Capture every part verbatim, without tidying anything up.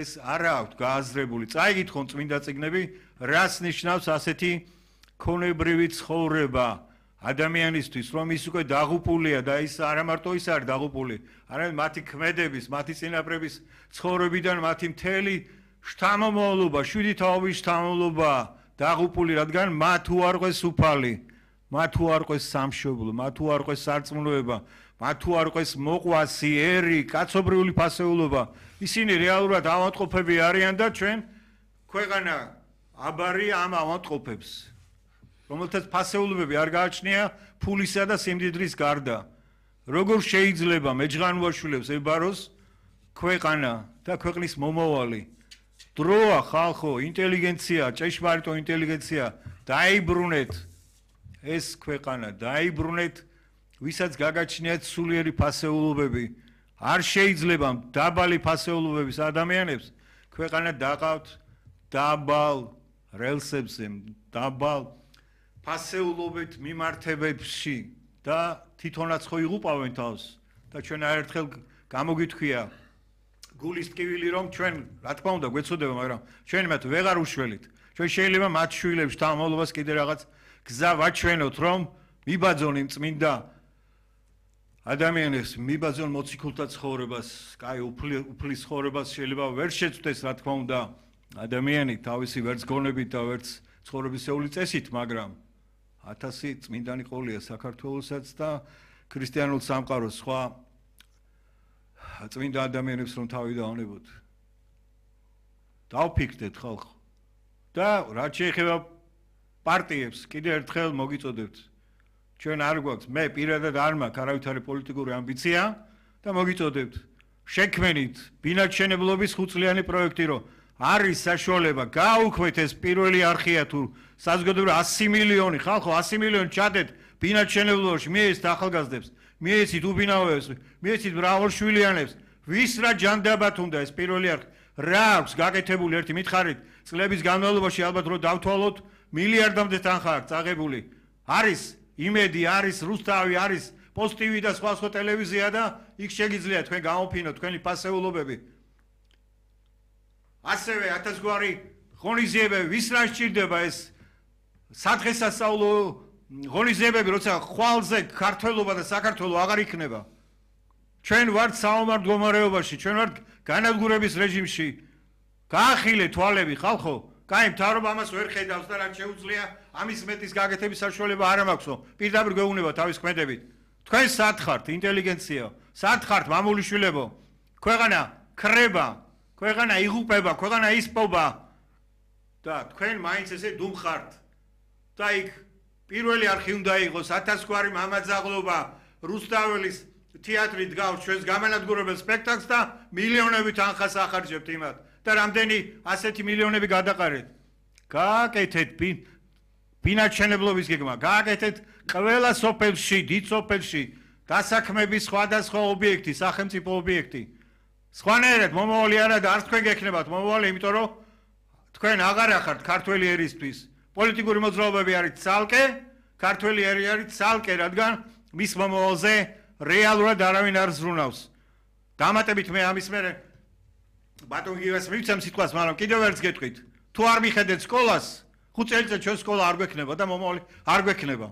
ეს არა აქვს გააზრებული. წაიგითხონ წმინდა წიგნები, რას ნიშნავს ასეთი ქონებრივი ცხოვრება ადამიანისთვის, რომ ის უკვე დაღუპულია და ის არა მარტო ის არის დაღუპული, არამედ მათი ქმედების, მათი წინაპრების ცხოვრებიდან მათი მთელი შთამომავლობა, შვიდი თაობის შთამომავლობა დაღუპული, რადგან მათ უარყვეს უფალი, მათ უარყვეს სამშობლო, მათ უარყვეს სარწმუნოება, მათ უარყვეს მოყვასი, ერი, კაცობრიული ფასეულობა. ისინი რეალურად ავადმყოფები არიან და ჩვენ ქვეყანა აბარი ამ ავადმყოფებს, რომელთაც ფასეულობები არ გააჩნია ფულისა და სიმდიდრის გარდა. როგორ შეიძლება მეჯღანუაშვილებს ებაროს ქვეყანა და ქვეყნის მომავალი? დროა ხალხო, ინტელიგენცია, ჭეშმარიტო ინტელიგენცია, დაიბრუნეთ ეს ქვეყანა, დაიბრუნეთ, ვისაც გაგაჩნიათ სულიერი ფასეულობები. არ შეიძლება დაბალი ფასეულობების ადამიანებს ქვეყანა დაყავთ დაბალ რელსებზე, დაბალ ფასეულობით მიმართებებში და თვითონაც ხო იღუპავენ თავს და ჩვენ აერთხელ გამოგითქვია გულის ტკივილი რომ ჩვენ რა თქმა უნდა გვეცოდება, მაგრამ ჩვენ მათ ვეღარ უშველით. ჩვენ შეიძლება მათ შვილებს თამამობას კიდე რაღაც გზა ვაჩვენოთ, რომ მიბაძონ იმ წმინდა ადამიანებს, მიბაძონ მოციქულთა ცხოვრებას, კაი უფლის ცხოვრებას შეიძლება ვერ შეწვდეს, რა თქმა უნდა, ადამიანი თავისი ვერც გონებით და ვერც ცხოვრებისეული წესით, მაგრამ ათასი წმინდანი ყოლია საქართველოსაც და ქრისტიანულ სამყაროს სხვა წმინდა ადამიანებს რომ თავი დავნებოთ. დავფიქრდეთ ხალხო. და რაც შეეხება პარტიებს, კიდე ერთხელ მოგიწოდებთ. ჩვენ არ გვაქვს, მე პირადად არ მაქვს არავითარი პოლიტიკური ამბიცია და მოგიწოდებთ. შექმენით ბინადშენებლობის ხუთწლიანი პროექტი, რომ არის საშუალება გაუქმეთ ეს პირველი არხია თუ საზოგადოებრივ ასი მილიონი ხალხო, ასი მილიონი ჩადეთ ბინადშენებლობაში, მიეცით ახალგაზრდებს, მიეცით უბინავებს, მიეცით მრავალშვილიანებს, ვის რა ჯანდაბათ უნდა ეს პირველი არხი, რა აქვს გაკეთებული ერთი მითხარით, წლების განმავლობაში ალბათ რომ დავთვალოთ მილიარდამდე თანხა აქვს წაღებული. არის იმედი, არის რუსთავი, არის პოსტივი და სხვა სხვა ტელევიზია და იქ შეგიძლიათ თქვენ გამოფინოთ თქვენი ფასეულობები. ასევე ათასგვარი ღონისძიებები, ვის რა სჭირდება ეს სადღესასწაულო ღონისძიებები, როცა ხვალზე ქართველობა და საქართველო აღარ იქნება. ჩვენ ვართ საომარ მდგომარეობაში, ჩვენ ვართ განადგურების რეჟიმში. გაახილეთ თვალები ხალხო, კაი მთავრობა ამას ვერ ხედავს და რაც შეუძლია ამის მეტის გაკეთების საშუალება არ მაქვსო. პირდაპირ გვეუბნება თავის ქმედებით. თქვენ სად ხართ ინტელიგენცია, სად ხართ მამულიშვილებო? ქვეყანა ქრება, ქვეყანა იღუპება, ქვეყანა ისპობა და თქვენ მაინც ესე დუმხართ. და იქ პირველი არხი უნდა იყოს ათასგვარი მამაძაღლობა, რუსთაველის თეატრი დგავს ჩვენს გამანადგურებელ სპექტაკლს და მილიონობით თანხას ახარჯებთ იმათ და რამდენი ასეთი მილიონები გადაყარეთ. გააკეთეთ ბინადშენებლობის გეგმა, გააკეთეთ ყველა სოფელში, დიდ სოფელში დასაქმების სხვადასხვა ობიექტი, სახელმწიფო ობიექტი. სხვანაირად მომავალი არა და არც თქვენ გექნებათ მომავალი, იმიტომ რომ თქვენ აღარ ახართ ქართველი ერისთვის. პოლიტიკური მოძრაობები არის ცალკე, ქართველი ერი არის ცალკე, რადგან მის მომავალზე რეალურად არავინ არ ზრუნავს. დამატებით მე ამის მერე ბატონ გიას მივცემ სიტყვას, მაგრამ კიდევ ერთს გეტყვით. თუ არ მიხედეთ სკოლას, ხუთ წელიწად ჩვენ სკოლა არ გვექნება და მომავალი არ გვექნება.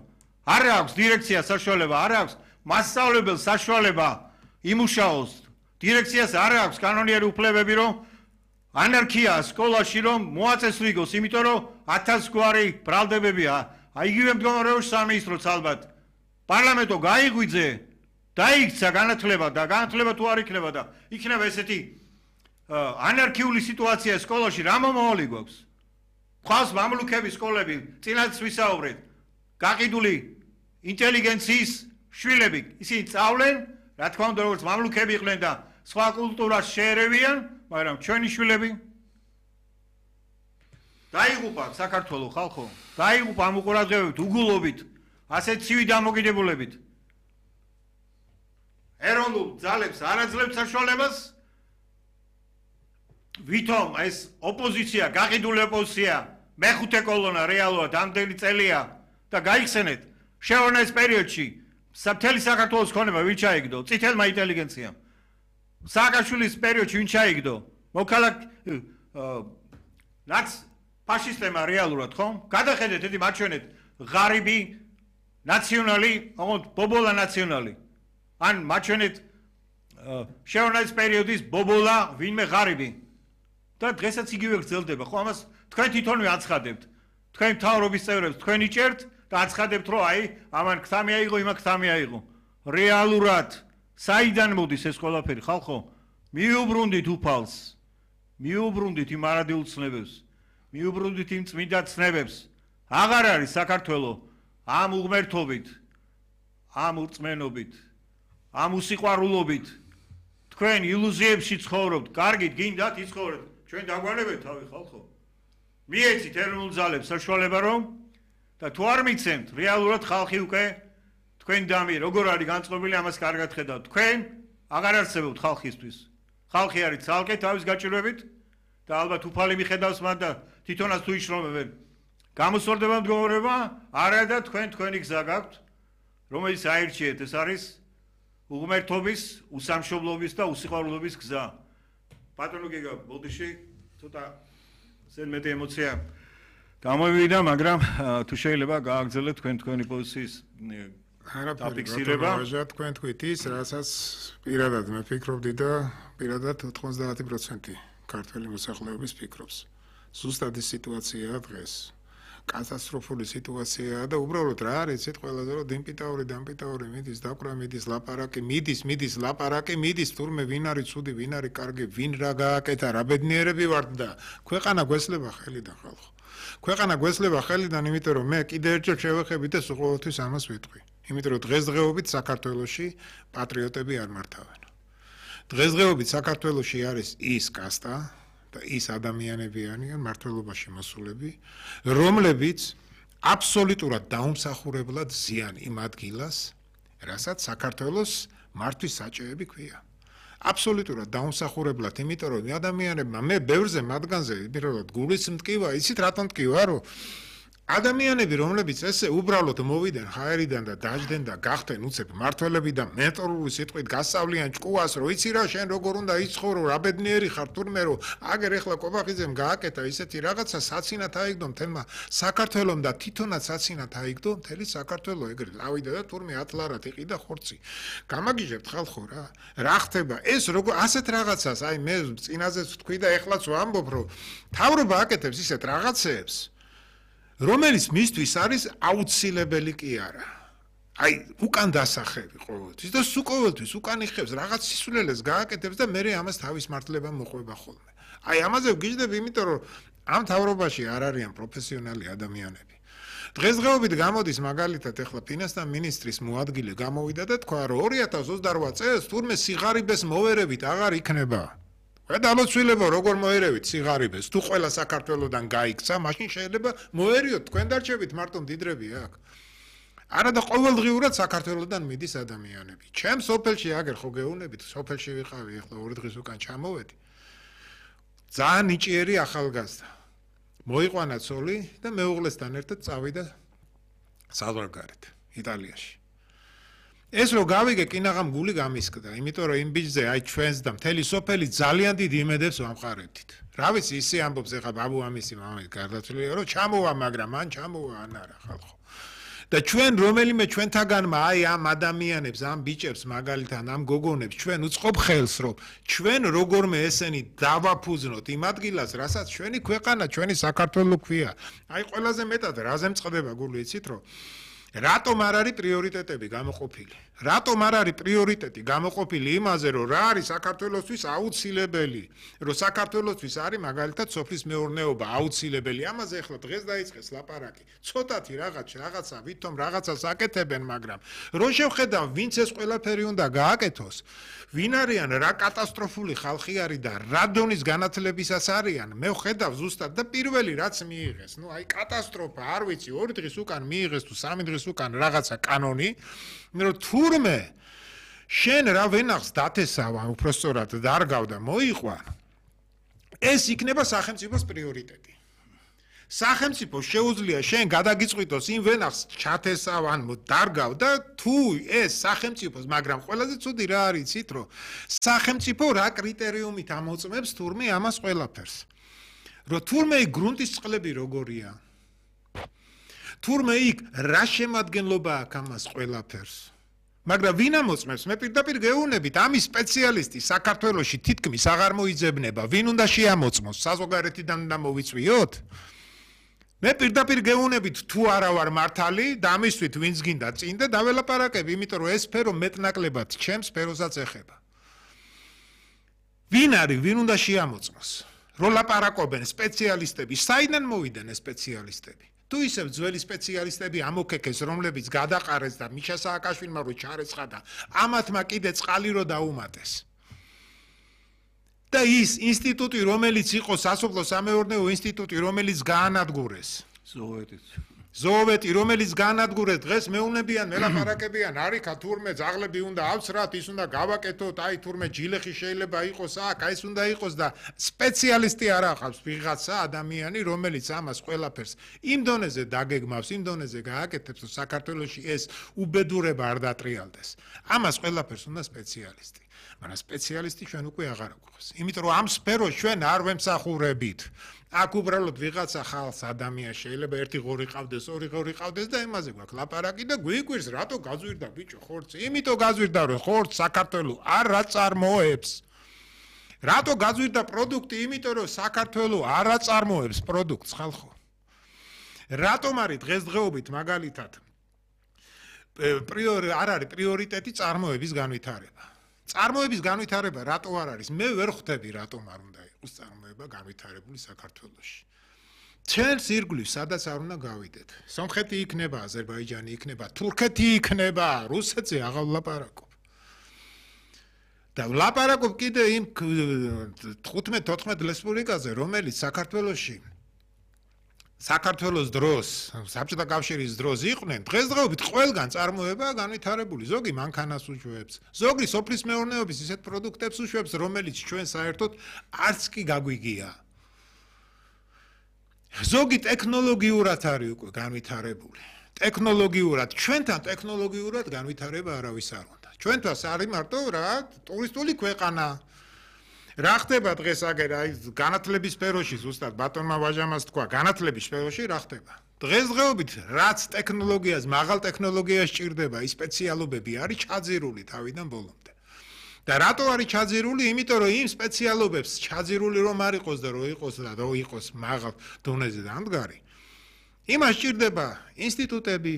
არ აქვს დირექცია საშუალება, არ აქვს მასწავლებელს საშუალება იმუშაოს. დირექციას არ აქვს კანონიერი უფლებები, რომ ანარქია სკოლაში რომ მოაწესრიგოს, იმიტომ რომ ათასგვარი ბრალდებებია. აიგივე მდგომარეობაში სამინისტროც ალბათ. პარლამენტო გაიღვიძე, დაიქცა განათლება და განათლება თუ არ იქნება და იქნება ესეთი ანარქიული სიტუაცია სკოლაში, რა მომავალი გვაქვს? ხავს მამლუქების სკოლები, წინაც ვისაუბრეთ. გაყიდული ინტელიგენციის შვილები, ისინი სწავლენ, რა თქმა უნდა, როგორც მამლუქები იყვნენ და სხვა კულტურას შეერევიან, მაგრამ ჩვენი შვილები დაიღუპა საქართველოს ხალხო, დაიღუპა ამ უყურადღებებით, უგულობით, ასეთ ცივი დამოკიდებულებით. ეროვნულ ძალებს არ აძლევთ საშუალებას, ვითომ ეს ოპოზიცია, გაყიდული ოპოზიცია, მეხუთე კოლონა რეალურად ამდენი წელია და გაიხსენეთ, შეונה ეს პერიოდში მთელი საქართველოს ქონება ვინ ჩაიგდო? წითელმა ინტელიგენციამ. სააკაშვილის პერიოდში ვინ ჩაიგდო? მოქალაქ რაც ფაშისტებმა რეალურად ხომ? გადახედეთ ედი მაჩვენეთ ღარიბი ნაციონალი, ოღონდ ბობოლა ნაციონალი. ან მაჩვენეთ შეურაცხმის პერიოდის ბობოლა ვინმე ღარიბი. და დღესაც იგივე გრძელდება, ხო? ამას თქვენ თვითონვე აცხადებთ. თქვენ მთავრობის წევრებს თქვენ იჭერთ და აცხადებთ, რომ აი, ამან ქთამი აიღო, იმა ქთამი აიღო. რეალურად საიდან მოდის ეს ყველაფერი, ხალხო? მიუბრუნდით უფალს. მიუბრუნდით იმ არადილ ცნებებს. მიუბრუნდით იმ წმინდა ცნებებს. აღარ არის საქართველო ამ უღმერთობით, ამ ურწმენობით, ამ უსიყვარულობით. თქვენ ილუზიებში ცხოვრობთ, კარგით გინდათ იცხოვრეთ. ჩვენ დაგვანებეთ თავი ხალხო. მიეცით ეროვნულ ძალებს საშუალება რომ და თუ არ მიცემთ, რეალურად ხალხი უკვე თქვენ დამი როგორ არის განწყობილი, ამას კარგად ხედავთ. თქვენ აღარ არსებობთ ხალხისთვის. ხალხი არის ცალკე თავის გაჭირვებით და ალბათ უფალი მიხედავს მათ და თვითონაც თუ იშრომებენ. გამოსვლდება მდგომარეობა, არა და თქვენ თქვენი გზა გაქვთ, რომელიც აირჩიეთ, ეს არის უღმერთობის, უსამშობლობის და უსიყვარულობის გზა. ბატონო გიგა, ბოდიში ცოტა ზედმეტი ემოცია გამოვიდა, მაგრამ თუ შეიძლება გააგრძელოთ თქვენ თქვენი პოზიციის დაფიქსირება. თქვენ თქვით ის, რასაც პირადად მე ფიქრობდი და პირადად ოთხმოცდაათი პროცენტი ქართველი მოსახლეობის ფიქრობს. ზუსტად ის სიტუაციაა დღეს. კატასტროფული სიტუაციაა და უბრალოდ რა არის ეს ყველაზე რომ დიმპიტაური დამპიტაური მიდის დაკვრა მიდის ლაპარაკი მიდის მიდის ლაპარაკი მიდის თურმე ვინ არის ცუდი ვინ არის კარგი ვინ რა გააკეთა რა ბედნიერები ვართ და ქვეყანა გვესლება ხელიდან ხალხო ქვეყანა გვესლება ხელიდან იმიტომ რომ მე კიდე ერთხელ შევეხებით და ყოველთვის ამას ვიტყვი იმიტომ რომ დღესდღეობით საქართველოში პატრიოტები არ მართავენ დღესდღეობით საქართველოში არის ის კასტა და ის ადამიანები არიან მართლობაში მოსულები, რომლებიც აბსოლუტურად დაუმსახურებლად ზიან იმ ადგილას, რასაც საქართველოს მართვის საჭეები ქვია. აბსოლუტურად დაუმსახურებლად, იმიტომ რომ ადამიანებმა მე ბევრზე მათგანზე პირველად გულის მტკივა, იცით რატომ მტკივა, რომ ადამიანები, რომლებიც ესე უბრალოდ მოვიდნენ ჰაერიდან და დაждდნენ და გახდნენ უცებ მართველები და მენტორული სიტყვით გასწავლიან ჭკუას, რომ იცი რა შენ როგორ უნდა იცხოვრო, რა ბედნიერი ხარ თურმე რომ აგერ ეხლა კობახიძემ გააკეთა ისეთი რაღაცა საცინათ აიგდო მთელმა საქართველომ და თვითონაც საცინათ აიგდო მთელი საქართველო ეგრე ლავიდა და თურმე ათლარად იყიდა ხორცი. გამაგიჟებთ ხალხო რა. რა ხდება? ეს როგორ ასეთ რაღაცას, აი მე წინაზეც თქვი და ეხლაც ვამბობ, რომ თავრობა აკეთებს ისეთ რაღაცებს რომელიც მისთვის არის აუცილებელი კი არა. აი, უკან დასახები ყოველთვის და სულ ყოველთვის უკან იხევს რაღაც სისულელეს გააკეთებს და მე ამას თავის მართლება მოყვება ხოლმე. აი, ამაზე ვგიჟდები, იმიტომ რომ ამ თავრობაში არ არიან პროფესიონალი ადამიანები. დღესდღეობით გამოდის მაგალითად ეხლა ფინანსთა მინისტრის მოადგილე გამოვიდა და თქვა, რომ ორი ათას ოცდარვათ წელს თურმე სიღარიბეს მოვერებით აღარ იქნება. გადამოცვილებო როგორ მოერევით სიღარიბეს თუ ყველა საქართველოსდან გაიქცა მაშინ შეიძლება მოერიოთ თქვენ დარჩებით მარტო მდიდრები აქ არა და ყოველდღიურად საქართველოსდან მიდის ადამიანები ჩემ სოფელში აგერ ხო გეუბნებით სოფელში ვიყავი ახლა ორი დღის უკან ჩამოვედი ძალიან ნიჭიერი ახალგაზრდა მოიყვანა ცოლი და მეუღლესთან ერთად წავიდა საზღვარგარეთ იტალიაში ეს რო გავიგე კინაღამ გული გამისკდა, იმიტომ რომ იმ ბიჭზე აი ჩვენს და მთელი სოფელი ძალიან დიდ იმედებს ვამყარებდით. რა ვიცი, ისე ამბობს ეხა ბაბუ ამისი მამის გარდაცვლილია, რომ ჩამოვა, მაგრამ მან ჩამოვა ან არა ხალხო. და ჩვენ რომელიმე ჩვენთაგანმა აი ამ ადამიანებს, ამ ბიჭებს მაგალითად ამ გოგონებს ჩვენ უწყობ ხელს, რომ ჩვენ როგორმე ესენი დავაფუძნოთ იმ ადგილას, რასაც ჩვენი ქვეყანა, ჩვენი საქართველო ქვია. აი ყველაზე მეტად რაზე მწყდება გული იცით რომ რატომ არ არის პრიორიტეტები გამოყოფილი? რატომ არ არის პრიორიტეტი გამოყოფილი იმაზე, რომ რა არის საქართველოსთვის აუცილებელი? რომ საქართველოსთვის არის მაგალითად სოფლის მეურნეობა აუცილებელი. ამაზე ახლა დღეს დაიწყეს ლაპარაკი. ცოტათი რაღაც რაღაცა ვითომ რაღაცას აკეთებენ, მაგრამ რო შევხედავ, ვინც ეს ყველაფერი უნდა გააკეთოს, ვინ არიან, რა კატასტროფული ხალხი არის და რა დონის განათლებისას არიან, მე ვხედავ ზუსტად და პირველი რაც მიიღეს, ნუ აი კატასტროფა, არ ვიცი, ორი დღის უკან მიიღეს თუ სამი დღის უკან რაღაცა კანონი, რომ თურმე შენ რა ვენახს დათესავა, უბრალოდ დარგავ და მოიყვა, ეს იქნება სახელმწიფოს პრიორიტეტი. სახელმწიფო შეუძლია შენ გადაგიწყვიტოს იმ ვენახს ჩათესავ ან დარგავ და თუ ეს სახელმწიფოს, მაგრამ ყველაზე ცუდი რა არის იცით, რომ სახელმწიფო რა კრიტერიუმით ამოწმებს თურმე ამას ყველაფერს. რომ თურმე იქ გრუნტის წყლები როგორია. თურმე იქ რა შემადგენლობა აქვს ამას ყველაფერს. მაგრამ ვინ ამოწმებს? მე პირდაპირ გეუბნებით, ამის სპეციალისტი საქართველოში თითქმის აღარ მოიძებნება. ვინ უნდა შეამოწმოს? საზოგადოებიდან უნდა მოვიწვიოთ? მე პირდაპირ გეუბნებით, თუ არა ვარ მართალი და ამისთვის ვინც გინდა წინ და დაველაპარაკები, იმიტომ რომ ეს სფერო მეტნაკლებად ჩემს სფეროსაც ეხება. ვინ არის, ვინ უნდა შეამოწმოს? რო ლაპარაკობენ სპეციალისტები, საიდან მოვიდნენ ეს სპეციალისტები? თუ ისევ ძველი სპეციალისტები ამოქეკეს, რომლებიც გადაყარეს და მიშა სააკაშვილმა რო ჩარეცხა და ამათმა კიდე წყალი რო დაუმატეს. და ის ინსტიტუტი, რომელიც იყო სასოფლო-სამეურნეო ინსტიტუტი, რომელიც გაანადგურეს. ზოოვეტიც. ზოოვეტი, რომელიც გაანადგურეს, დღეს მეუბნებიან, მელაპარაკებიან, არიქა თურმე ძაღლები უნდა ავსრათ, ის უნდა გავაკეთოთ, აი თურმე ჯილეხი შეიძლება იყოს აქ, აი ეს უნდა იყოს და სპეციალისტი არ ახავს ვიღაცა ადამიანი, რომელიც ამას ყველაფერს იმ დონეზე დაგეგმავს, იმ დონეზე გააკეთებს, რომ საქართველოში ეს უბედურება არ დატრიალდეს. ამას ყველაფერს უნდა სპეციალისტი. მაგრამ სპეციალისტი ჩვენ უკვე აღარ გვყავს. იმიტომ რომ ამ სფეროს ჩვენ არ ვემსახურებით. აქ უბრალოდ ვიღაცა ხალხს ადამიანს შეიძლება ერთი ღორი ყავდეს, ორი ღორი ყავდეს და იმაზე გვაქვს ლაპარაკი და გვიკვირს რატო გაზვირდა ბიჭო ხორცი? იმიტომ გაზვირდა რომ ხორცს საქართველოს არ აწარმოებს. რატო გაზვირდა პროდუქტი? იმიტომ რომ საქართველოს არ აწარმოებს პროდუქტს ხალხო. რატომ არის დღესდღეობით მაგალითად პრიორი არ არის პრიორიტეტი წარმოების განვითარება. წარმოების განვითარება რატო არ არის? მე ვერ ხვდები რატომ არ უნდა იყოს წარმოება განვითარებული საქართველოში. ჩვენს ირგვლივ სადაც არ უნდა გავიდეთ. სომხეთი იქნება, აზერბაიჯანი იქნება, თურქეთი იქნება, რუსეთზე აღარ ვლაპარაკობ. და ვლაპარაკობ კიდე იმ თხუთმეტ-თოთხმეტ რესპუბლიკაზე, რომელიც საქართველოში საქართველოს დროს, საბჭოთა კავშირის დროს იყვნენ, დღესდღეობით ყველგან წარმოება განვითარებული, ზოგი მანქანას უშვებს, ზოგი სოფლის მეურნეობის ისეთ პროდუქტებს უშვებს, რომელიც ჩვენ საერთოდ არც კი გაგვიგია. ზოგი ტექნოლოგიურად არის უკვე განვითარებული. ტექნოლოგიურად, ჩვენთან ტექნოლოგიურად განვითარება არავის არ უნდა. ჩვენთვას არის მარტო რა, ტურისტული ქვეყანა. რა ხდება დღეს აგერ აი განათლების სფეროში ზუსტად ბატონმა ვაჟამას თქვა განათლების სფეროში რა ხდება დღესდღეობით რაც ტექნოლოგიას მაღალ ტექნოლოგიას ჭირდება ის სპეციალობები არის ჩაძირული თავიდან ბოლომდე და რატო არის ჩაძირული იმიტომ რომ იმ სპეციალობებს ჩაძირული რომ არ იყოს და რო იყოს და რო იყოს მაღალ დონეზე დამდგარი იმას ჭირდება ინსტიტუტები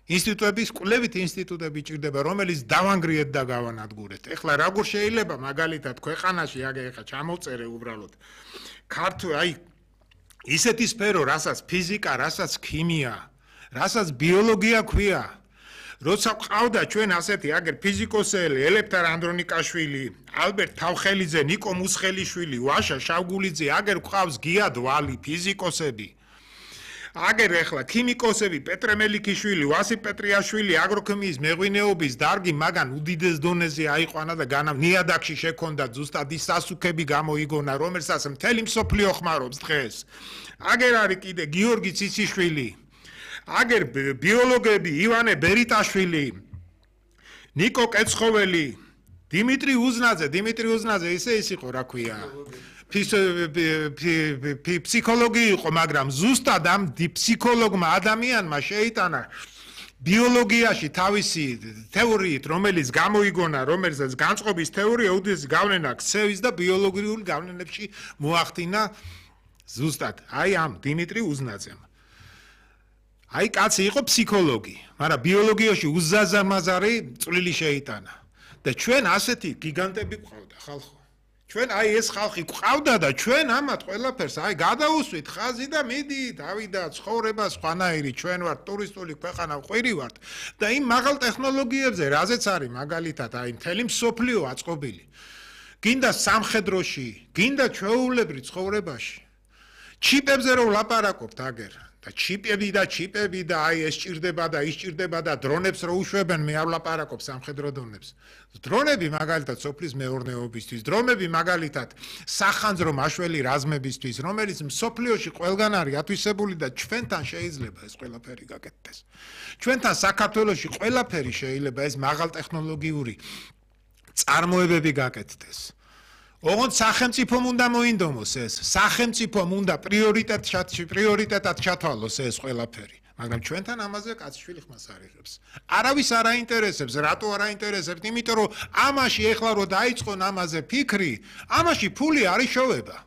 ინსტიტუტების კვლევით ინსტიტუტები ჭირდება რომელიც დავანგრიეთ და გავანადგურეთ. ეხლა როგორ შეიძლება მაგალითად ქვეყანაში აგე ეხლა ჩამოვწერე უბრალოდ ქართულ აი ისეთი სფერო რასაც ფიზიკა, რასაც ქიმია, რასაც ბიოლოგია ქვია. როცა ყავდა ჩვენ ასეთი აგერ ფიზიკოსელი ელეფთარ ანდრონიკაშვილი, ალბერტ თავხელიძე, ნიკო მუსხელიშვილი, ვაშა შავგულიძე, აგერ ყავს გია დვალი ფიზიკოსები. აგერ ეხლა ქიმიკოსები პეტრე მელიქიშვილი, ვასილ პეტრიაშვილი, აგროქიმიის მეღვინეობის დარგი მაგან უდიდეს დონეზე აიყვანა და განა ნიადაგში შექონდა ზუსტად ის სასუქები გამოიგონა, რომელსაც მთელი მსოფლიო ხმარობს დღეს. აგერ არის კიდე გიორგი ციციშვილი, აგერ ბიოლოგები ივანე ბერიტაშვილი, ნიკო კეცხოველი, დიმიტრი უზნაძე, დიმიტრი უზნაძე ისე ის იყო რა ქვია. ფსიქოლოგი იყო, მაგრამ ზუსტად ამ ფსიქოლოგმა ადამიანმა შეიტანა ბიოლოგიაში თავისი თეორიით, რომელიც გამოიგონა, რომელსაც განწყობის თეორია უდიდესი გავლენა ქცევის და ბიოლოგიური გავლენებში მოახდინა ზუსტად აი ამ დიმიტრი უზნაძემ. აი კაცი იყო ფსიქოლოგი, მაგრამ ბიოლოგიაში უზაზამაზარი წვლილი შეიტანა და ჩვენ ასეთი გიგანტები გვყავდა ხალხო. ჩვენ აი ეს ხალხი გვყავდა და ჩვენ ამათ ყველაფერს აი გადაუსვით ხაზი და მიდი დავიდა ცხოვრება სხვანაირი ჩვენ ვართ ტურისტული ქვეყანა ყვირი ვართ და იმ მაღალ ტექნოლოგიებზე რაზეც არის მაგალითად აი მთელი მსოფლიო აწყობილი გინდა სამხედროში გინდა ჩვეულებრივ ცხოვრებაში ჩიპებზე რომ ლაპარაკობთ აგერ და ჩიპები და ჩიპები და აი ეს ჭირდება და ის ჭირდება და დრონებს რო უშვებენ, მე არ ვლაპარაკობ სამხედრო დრონებს. დრონები მაგალითად სოფლის მეურნეობისთვის, დრონები მაგალითად სახანძრო მაშველი რაზმებისთვის, რომელიც მსოფლიოში ყველგან არის ათვისებული და ჩვენთან შეიძლება ეს ყველაფერი გაკეთდეს. ჩვენთან საქართველოში ყველაფერი შეიძლება ეს მაღალტექნოლოგიური წარმოებები გაკეთდეს. ოღონდ სახელმწიფომ უნდა მოინდომოს ეს, სახელმწიფომ უნდა პრიორიტეტად პრიორიტეტად ჩათვალოს ეს ყველაფერი. მაგრამ ჩვენთან ამაზე კაცშვილი ხმას არ იღებს. არავის არ აინტერესებს, რატო არ აინტერესებს? იმიტომ რომ ამაში ეხლა რო დაიწყონ ამაზე ფიქრი, ამაში ფული არ იშოვება.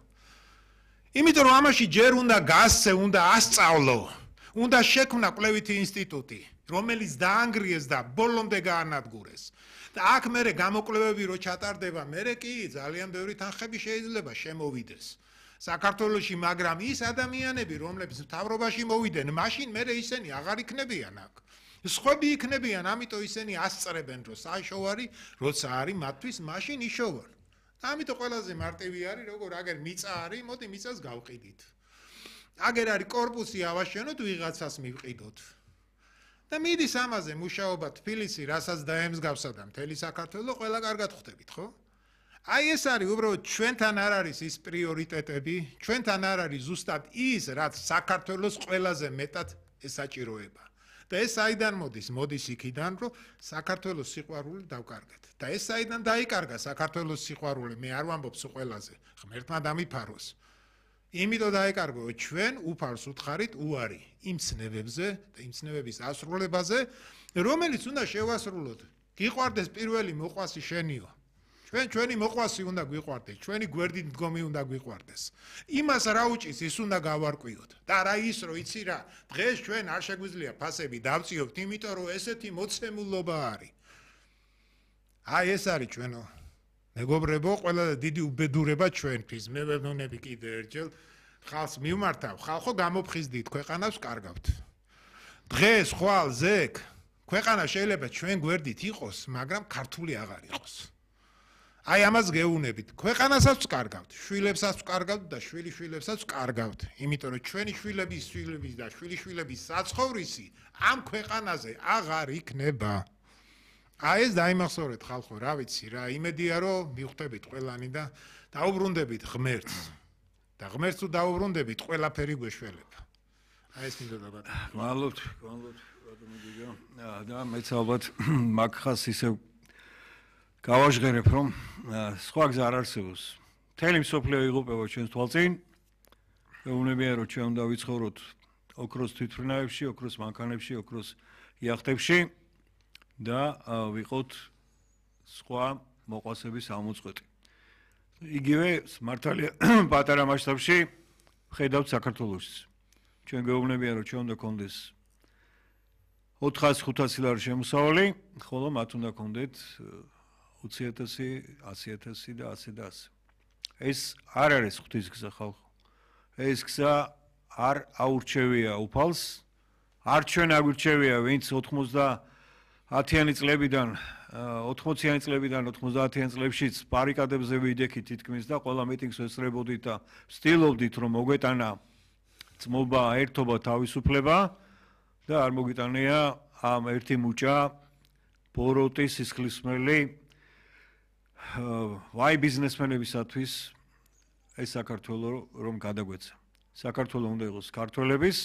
იმიტომ რომ ამაში ჯერ უნდა გასცე, უნდა ასწავლო, უნდა შექმნა კვლევითი ინსტიტუტი, რომელიც დაანგრიეს და ბოლომდე გაანადგურეს. და აქ მერე გამოკვლევები რო ჩატარდება, მერე კი ძალიან ბევრი თანხები შეიძლება შემოვიდეს. საქართველოში, მაგრამ ის ადამიანები, რომლებიც მთავრობაში მოვიდნენ, მაშინ მერე ისინი აღარ იქნებიან აქ. სხვები იქნებიან, ამიტომ ისინი ასწრებენ, რომ საშოვარი, როცა არის მათთვის, მაშინ იშოვონ. და ამიტომ ყველაზე მარტივი არის, როგორ აგერ მიწა არის, მოდი მიწას გავყიდით. აგერ არის კორპუსი ავაშენოთ, ვიღაცას მივყიდოთ. და მიდის ამაზე მუშაობა თბილისი, რასაც დაემსგავსა და მთელი საქართველო, ყველა კარგად ხვდებით, ხო? აი ეს არის უბრალოდ ჩვენთან არ არის ის პრიორიტეტები, ჩვენთან არ არის ზუსტად ის, რაც საქართველოს ყველაზე მეტად ესაჭიროება. და ეს საიდან მოდის? მოდის იქიდან, რომ საქართველოს სიყვარული დავკარგეთ. და ეს საიდან დაიკარგა საქართველოს სიყვარული? მე არ ვამბობ სულ ყველაზე, ღმერთმა დამიფაროს. იმიტომ დაიკარგო, ჩვენ უფალს უთხარით უარი იმ ცნებებზე და იმ ცნებების ასრულებაზე, რომელიც უნდა შევასრულოთ. გიყვარდეს პირველი მოყვასი შენიო. ჩვენ ჩვენი მოყვასი უნდა გვიყვარდეს, ჩვენი გვერდით მდგომი უნდა გვიყვარდეს. იმას რა უჭის, ის უნდა გავარკვიოთ. და რა ის რო იცი რა, დღეს ჩვენ არ შეგვიძლია ფასები დავწიოთ, იმიტომ რომ ესეთი მოცემულობა არის. აი ეს არის ჩვენო მეგობრებო, ყველა დიდი უბედურება ჩვენთვის. მე ვეუბნები კიდე ერთხელ ხალხს მივმართავ, ხალხო გამოფხიზდით, ქვეყანას ვკარგავთ. დღეს ხვალ ზეკ ქვეყანა შეიძლება ჩვენ გვერდით იყოს, მაგრამ ქართული აღარ იყოს. აი ამას გეუბნებით, ქვეყანასაც ვკარგავთ, შვილებსაც ვკარგავთ და შვილიშვილებსაც ვკარგავთ, იმიტომ რომ ჩვენი შვილების შვილების და შვილიშვილების საცხოვრისი ამ ქვეყანაზე აღარ იქნება. აი ეს დაიმახსოვრეთ ხალხო, რა ვიცი რა, იმედია რომ მივხვდებით ყველანი და დაუბრუნდებით ღმერთს. და ღმერთს თუ დაუბრუნდებით, ყველაფერი გვეშველება. აი ეს მინდოდა ბატონო. გვალობთ, გვალობთ, ბატონო გიგო. და მეც ალბათ მაგხას ისევ გავაჟღერებ, რომ სხვა გზა არ არსებობს. მთელი მსოფლიო იღუპება ჩვენს თვალწინ. მეუბნებიან, რომ ჩვენ უნდა ვიცხოვროთ ოქროს თვითმფრინავებში, ოქროს მანქანებში, ოქროს იახტებში. და ვიყოთ სხვა მოყვასების ამოწყვეტი. იგივე მართალია პატარა მასშტაბში ხედავთ საქართველოშიც. ჩვენ გეუბნებიან, რომ ჩვენ უნდა გქონდეს ოთხასი ხუთასი ლარი შემოსავალი, ხოლო მათ უნდა გქონდეთ ოცი ათასი, ასი ათასი და ასე და ასე. ეს არ არის ღვთის გზა ხალხო. ეს გზა არ აურჩევია უფალს, არ ჩვენ აგვირჩევია, ვინც ათიანი წლებიდან, ოთხმოციანი წლებიდან ოცდაათიანი წლებშიც ბარიკადებზე ვიდექით თითქმის და ყველა მიტინგს ვესწრებოდით და ვცდილობდით, რომ მოგვეტანა ძმობა, ერთობა, თავისუფლება და არ მოგვიტანია ამ ერთი მუჭა ბოროტი, სისხლისმელი ვაი ბიზნესმენებისათვის ეს საქართველო რომ გადაგვეცა. საქართველო უნდა იყოს ქართველების,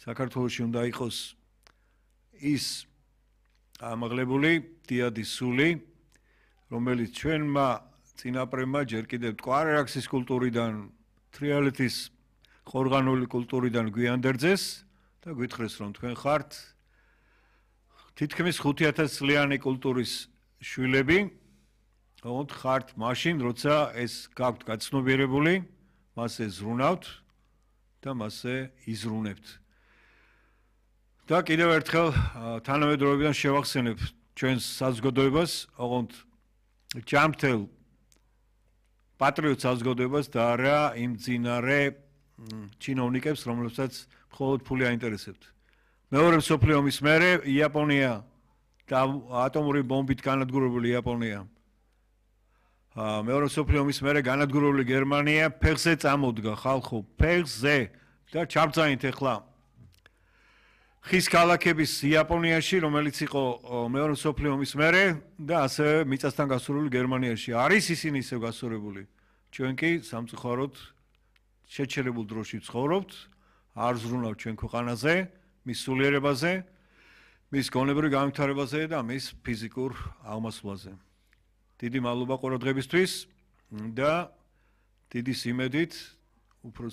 საქართველოში უნდა იყოს ის ამაღლებული დიადის სული, რომელიც ჩვენმა წინაპრებმა ჯერ კიდევ მტკვარ-არაქსის კულტურიდან, თრიალეთის ყორღანული კულტურიდან გვიანდერძეს და გვითხრეს, რომ თქვენ ხართ თითქმის ხუთი ათასი წლიანი კულტურის შვილები, ოღონდ ხართ მაშინ, როცა ეს გაქვთ გაცნობიერებული, მასზე ზრუნავთ და მასზე იზრუნებთ. და კიდევ ერთხელ თანამედროვეობიდან შევახსენებ ჩვენს საზოგადოებას, ოღონდ ჯანმრთელ პატრიოტ საზოგადოებას და არა იმ ძინარე ჩინოვნიკებს, რომლებსაც მხოლოდ ფული აინტერესებთ. მეორე მსოფლიო ომის მერე იაპონია და ატომური ბომბით განადგურებული იაპონია. მეორე მსოფლიო ომის მერე განადგურებული გერმანია ფეხზე წამოდგა ხალხო, ფეხზე და ჩაბძანით ახლა ხის ქალაქების იაპონიაში, რომელიც იყო მეორე მსოფლიო ომის მერე და ასევე მიწასთან გასურვებული გერმანიაში. არის ისინი ისევ გასურვებული. ჩვენ კი სამწუხაროდ შეჩერებულ დროში ვცხოვრობთ, არ ზრუნავთ ჩვენ ქვეყანაზე, მის სულიერებაზე, მის გონებრივ განვითარებაზე და მის ფიზიკურ აღმასვლაზე. დიდი მადლობა ყურადღებისთვის და დიდი სიმედით, უფრო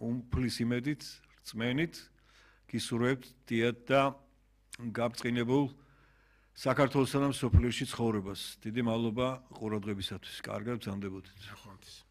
უმფლის იმედით, რწმენით გისურვებთ დიად და გაბწყინებულ საქართველოსა და მსოფლიოში ცხოვრებას. დიდი მადლობა ყურადღებისათვის. კარგად გრძანდებოდეთ.